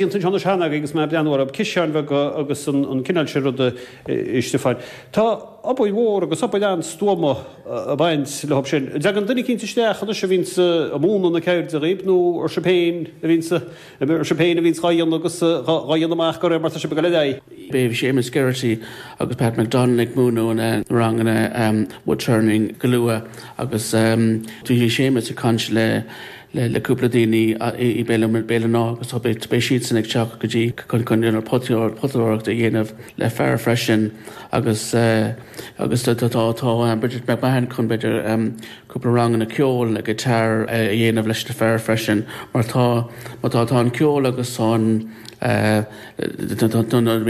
Déanta anseo anois cheana agaibh agus mé ag breathnú orthu, ciseáin bheaga agus an cineál sin ruda, a Stiofáin. Tá obair mhór agus obair an-stuama ag baint leo sin. An dtagann duine eicínt isteach anois a bhíonns ag múineadh na ceirde dhaoib nó ar sibh féin a bhíonns ar sibh féin a bhíonns dhá dhéanamh agus dhá dhéanamh amach de réir mar tá sibh ag dul ar aghaidh? Beidh Séamus Geraghty agus Pat McDonald ag múineadh na ranganna woodturning go luath agus bhí Séamus ag caint le le cúpla daoine i Béal an Átha agus beidh siadsan ag teacht go dtí chun potadóireacht a dhéanamh le fear freisin agus agus tá tá Bridget McMahon chun b'fhéidir cúpla ranganna ceoil le guitar a dhéanamh leis na fear freisin mar tá mar tá tá an ceol agus tá an Nuair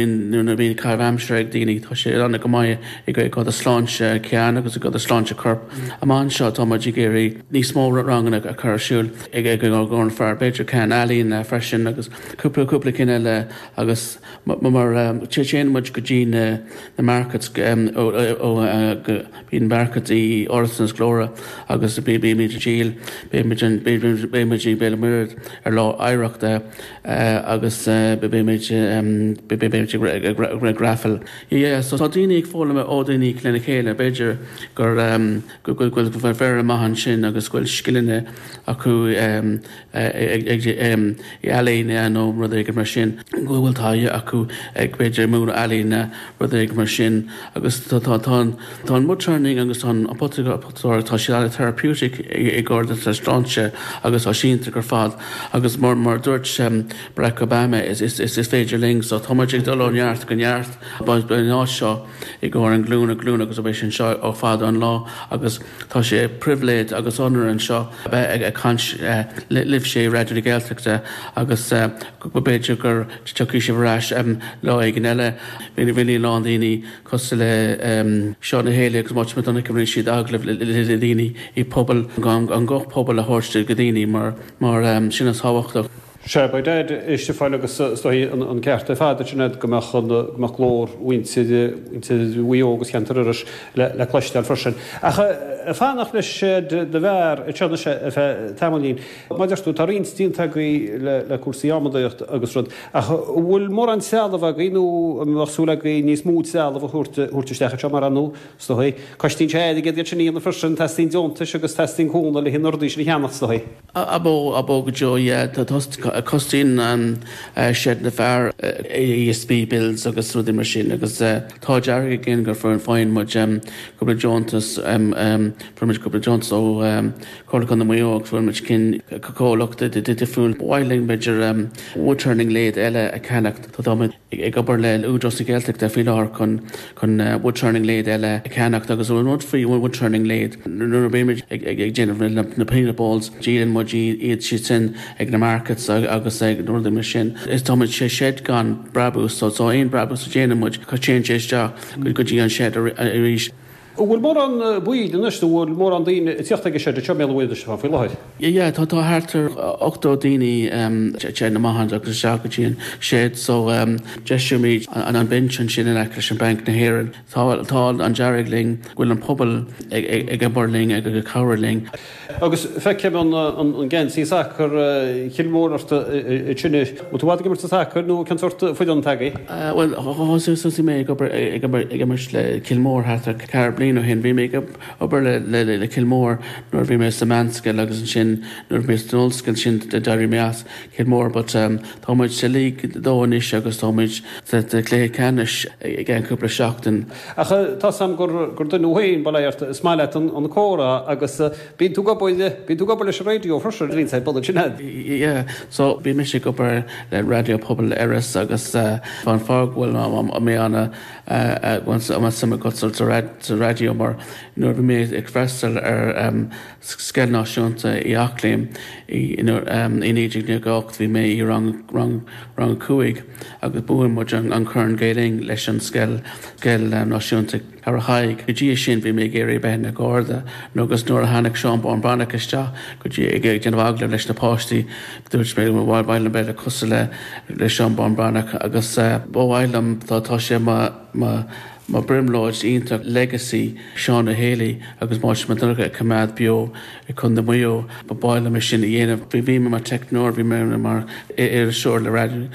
a bhíonn caitheamh aimsire ag daoine, tá sé an go maith i gcomhair do sláinte ceann agus i gcomhair do sláinte coirp. Amach anseo tá muid ag iarraidh níos mó ranganna a chur ar siúl ag gcomhair na fear, b'fhéidir ceann ealaíne freisin agus cúpla cúpla cinn eile agus mar téann muid go dtí na markets ó go Bíonn market i Áras an Scoláire agus bímid ag díol, beimid beimid i Béal an Mhuirthead ar lá oidhreachta agus beimid beimid ag raffle. Yeah so tá daoine ag foghlaim ó daoine lena chéile, b'fhéidir gur go bhfuil fear maith ansin agus go bhfuil scileanna acu ag ealaíne nó rud éigin mar sin, go bhfuil taithí acu ag b'fhéidir múineadh ealaíne, rud éigin mar sin agus tá tá an tá an woodturning agus tá an potadóireacht, tá siad an-therapeutic i gcomhair do sláinte agus tá sé iontach ar fad agus mar mar dúirt Barack Obama is is is féidir linn so tá muid ag dul ó neart go neart beidh an áit seo i gcomhair an glúin go glúin agus beidh sé anseo ó fada an lá agus Tá sé pribhléid agus onóir anseo a bheith ag caint libhse i Raidió na Gaeltachta agus b'fhéidir go dtiocfaidh sibh ar ais lá éigin eile. Bhí a lán daoine cosúil le Seán Ó Héalaí agus Máirtín Mac Donncha, rinne siad agallaimh le daoine i pobal, an guth pobail a thabhairt do dhaoine mar sin is tábhachtach. Sea, beidh Daid, a Stiofáin, agus is dóigh an ceart ar fad ansin agat go mbeadh an, go mbeadh glór mhuintir, mhuintir Mhaigh Eo agus cheantar Iorrais le, le cloisteáil freisin. Ach ag fanacht le Seid na bhFear anseo anois ar feadh tamaillín, mar a deir tú, tá roinnt déanta agaibh le, le cúrsaí adhmadaíocht agus rud, ach an bhfuil mórán trealamh agaibh nó an mbeadh súil agaibh níos mó trealamh a thabhairt, thabhairt isteach anseo mar ar ndóigh, is dóigh, cosnaíonn sé airgead iad sin a dhéanamh freisin, teastaíonn deontais agus teastaíonn cúnamh le na rudaí sin a cheannacht, is dóigh. Ab ó, ab ó go deo, yeah. Tá cosnaíonn an Seid na bhFear ESB bills agus rudaí mar sin agus tá dearg againn gur faigheann muid cúpla deontas, fuair muid cúpla deontas ó Chomhairle Contae Mhaigh Eo agus fuair muid cinn comhlacht difriúil. Ba mhaith linn b'fhéidir woodturning lathe eile a cheannacht. Tá muid. ag obair le Údarás na Gaeltachta faoi láthair chun chun woodturning lathe eile a cheannacht agus an rud faoi woodturning lathe nuair a bímid ag ag déanamh na peanut balls díolann muid iad siad sin ag na markets agus ag na rudaí mar sin. Is tá muid sé shed gan brabús so so aon brabús a dhéanann muid téann sé isteach go dtí an shed arís. An bhfuil mórán baill anois nó an bhfuil mórán daoine ag tíocht ag an seid anseo i mBéal an Mhuirthead a Stiofáin faoi láthair? Yeah, tá tá thart ar 80 daoine téann amach agus isteach go dtí an shed so deisímid an an bench ansin in aice leis an Bank na hÉireann. Tá tá an dearg linn go bhfuil an pobal ag ag obair linn ag ag cabhrú linn. Agus feicim an an geansaí sacair Chill Mhór ort ansin. Bhfuil tú i bhfad ag imirt an sacair nó cén sórt foireann atá agaibh? Bhuel thosaigh mé ag obair ag imirt le Cill Mhór thart ar ceathair bliana ó shin. Bhí mé ag obair le Cill Mhór nuair a bhí mé sa meánscoil agus ansin nuair a bhí mé san ollscoil sin d'éirigh mé as Cill Mhór but tá muid sa League 2 anois agus tá muid sa chluiche ceannais i gceann cúpla seachtain. Ach tá 's a'm gur duine thú féin, bail ó Dhia ort, is maith leat an comhrá agus bíonn tú ag obair, bíonn tú ag obair leis an raidió freisin, bíonn sé ag bun ansin a'd. Yeah, so bhí mise ag obair le Raidió Pobail Iorrais agus an fáth go bhfuil mé ana go bhfuil suim agat sa raidió mar nuair a bhí mé ag freastal ar Scoil Náisiúnta Uí Eachléim i 1998 bhí mé i rang rang rang 5 agus bhuaigh muid an Corn Gael Linn leis an scoil Scoil Náisiúnta Ceathrú Thaidhg. Go dtí sin bhí mé ag iarraidh bheith ina Gharda nó agus nuair a tháinig Seán Bán Breathnach isteach go dtí ag déanamh agallamh leis na páistí dúirt mé ba mhaith liom bheith cosúil le le Seán Bán Breathnach agus ba mhaith liom tá tá sé mo mo. Ba brionglóid iontach legacy Seán Ó Héalaí agus Máirtín Mac Donncha a choimeád beo i Contae Mhaigh Eo. Ba mhaith liom é sin a dhéanamh. Bhí mé mar teicneoir, bhí mé mar iriseoir le raidió.